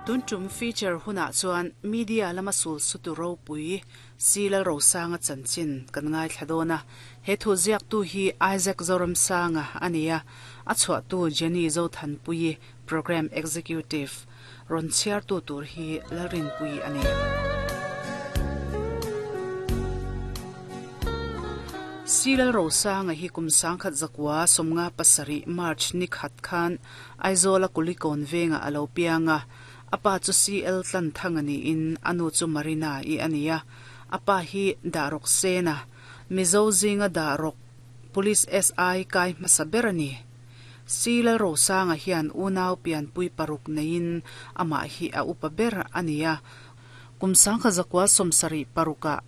Tun tum feature hunah chuan media lama sul sutu ropui Si Lalrosanga chanchin kan ngaithla dawn a. He thu ziaktu hi Isaac Zoramsanga a ni a, a chhuahtu Jenny Zothanpuii, Programme Executive, rawn chhiartu tur hi Lalrinpuii a ni. Si Lalrosanga hi kum sangkhat zakua sawmnga pasarih March ni khat khan Aizawla Kulikawn vengah a lo piang a, a pa chu CL Tlanthanga niin a nu chu Marina-i a ni a, a pa hi Dahrawk Sena, Mizo zinga Dahrawk Police SI kai hmasa ber a ni. Si Lalrosanga hian unau pianpui paruk neiin amah hi a upa ber a ni a, kum sangkhat zakua sawmsarih parukah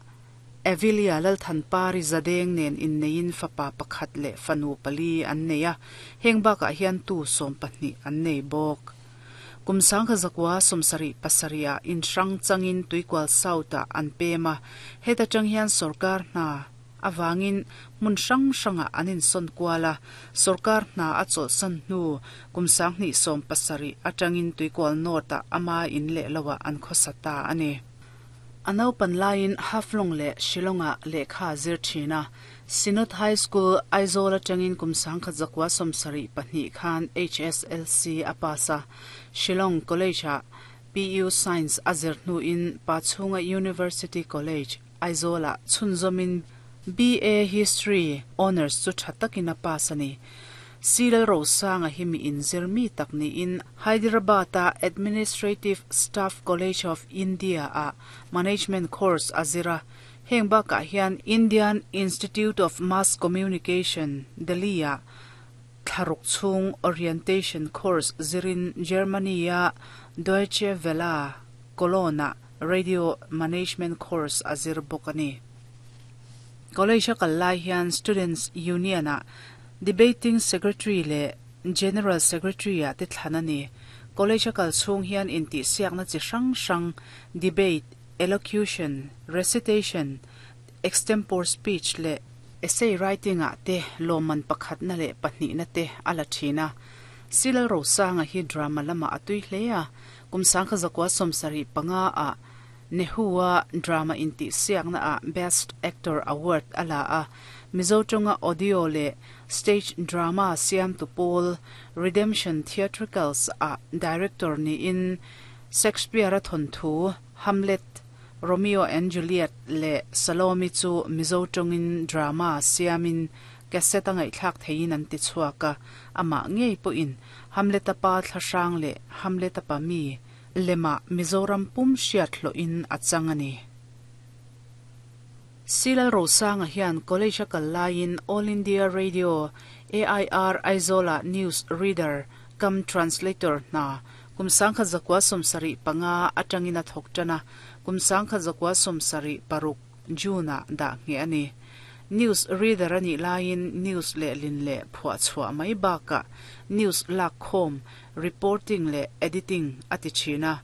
Avilia Lalthanpari Zadeng nen inneiin fapa pakhat leh fanu pali an nei a, heng bakah hian tu 12 an nei bawk. Kum sangkha zakua 70 pasarihah inhrang changin Tuikual South-ah an pem a, heta tang hian sorkar hna avangin hmun hrang hrangah an insawn kual a, sorkar hna a chawlhsan hnu kum 2070 atangin Tuikual North-ah ama in leh loah an khawsa ta a ni. A naupan laiin Haflong leh Shillong-ah lehkha a zir thin a. Synod High School, Aizawl atangin kum 1972 khan HSLC a pass a. Shillong College-ah PU Science a zir hnuin Pachhunga University College, Aizawl-ah chhunzawmin BA History Honours chu tha takin a pass a ni. Si Lalrosanga hi mi inzir mi tak niin Hyderabad-a Administrative Staff College of India-ah Management course a zir a, heng bakah hian Indian Institute of Mass Communication, Delhi-ah thlaruk chhung Orientation course zirin Germany-a Deutsche Welle, Cologne-ah Radio Management course a zir bawk a ni. College a kal lai hian Students Union-ah Debating Secretary leh General Secretary-ah te thlan a ni. College a kal chhung hian intihsiakna chi hrang hrang, debate, elocution, recitation, extempore speech leh essay writing-ah te lawmman pakhatna leh pahnihna te a la thin a. Si Lalrosanga hi drama lamah a tui hle a, kum 1975-ah Nehu-a drama intihsiakna ah Best Actor Award a la a, Mizo tawnga audio leh stage drama siamtu pawl Redemption Theatricals ah director niin Shakespeare-a thawnthu Hamlet, Romeo and Juliet leh Salome chu Mizo tawngin drama siamin cassette a ngaihthlak theiin an ti chhuak a, amah ngei pawhin Hamlet-a pa thlahrang leh Hamlet-a pa mi Lemah Mizoram pum hriat hlawhin a chang a ni. Si Lalrosanga hian college a kal laiin All India Radio, AIR, Aizawlah news reader cum translator hna kum 1975 atangin a thawk tan a, kum 1976 June-ah dah ngheh a ni. News reader a nih laiin news lehlin leh phuahchhuah mai bakah news lakkhawm, reporting leh editing a ti thin a.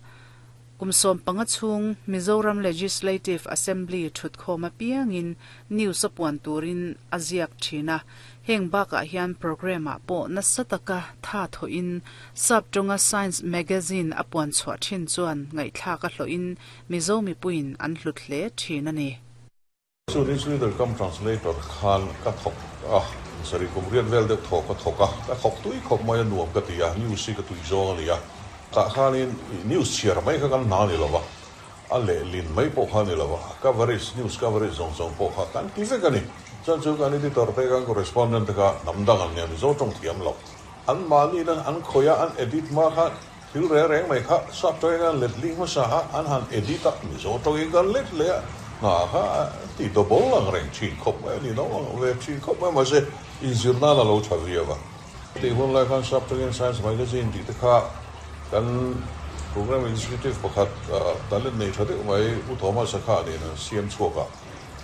Kum 15 chhung Mizoram Legislative Assembly thutkhawm apiangin news a puan turin a ziak thin a. Heng bakah hian programme-ah pawh nasa taka tha thawhin sap tawnga Science Magazine a puan chhuah thin chuan ngaihthlak a hlawhin Mizo mipuiin an hlut hle thin a ni. Chu news reader cum translator khan ka thawk a, sarih kum riat vel deuh thaw ka thawk a, ka thawk tui khawp mai a nuam ka ti a, news hi ka tui zawng a ni a, tah khanin news chhiar mai kha kan hna a ni lo va, a lehlin mai pawh kha a ni lo va, coverage, news coverage zawng zawng pawh kha kan ti vek a ni. Chuan chu kan editor te kan correspondent te kha hnam dang an nia, Mizo tawng thiam lo, an mahni in an khawih a, an edit hma khan thil reng reng mai kha sap tawngin an let ling hmasa a, an han edit a, Mizo tawngin kan let leh a, hna kha ti double ang reng thin khawp mai a ni, no ang ve thin khawp mai mahse inzir nan a lo tha viau a. Tih hun lai khan sap tawngin Science Magazine tih te kha kan Programme Executive pakhat talent nei tha deuh mai U Thomas a kha nen an siam chhuak a,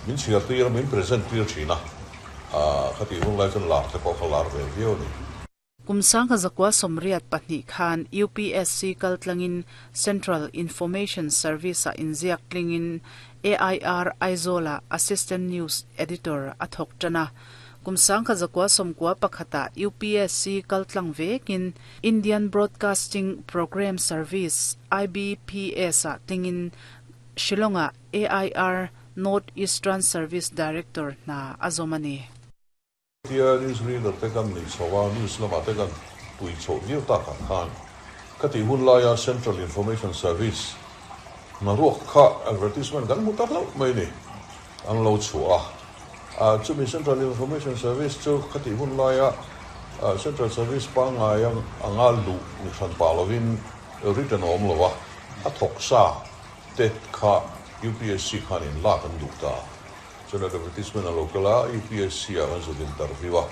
min chhiar tir a, min present tir thin a, khatih hun lai chuan lar te pawh kha lar ve viau a ni. Kum 1982 khan UPSC kaltlangin Central Information Service-ah inziak tlingin AIR Aizawl-ah Assistant News Editor a thawk tan a. Kum 1991 ah UPSC kaltlang vekin Indian Broadcasting Programme Service, IBPS, ah tlingin Shillong ah AIR North Eastern Service Director hna a zawm a ni. Tia news reader te kan nei chho a, news lamah te kan tui chhoh viau takah khan ka tih hun laia Central Information Service hnaruak kha advertisement kan hmu ta hlauh mai a ni. An lo chhuah a, chumi Central Information Service chu khatih hun laia Central Service pangngai anga luh ni hran pah lovin written a awm lo a, a thawk sa te kha UPSC khan in lak an duh ta. Chuan advertisement a lo kal a, UPSC ah kan zuk interview a.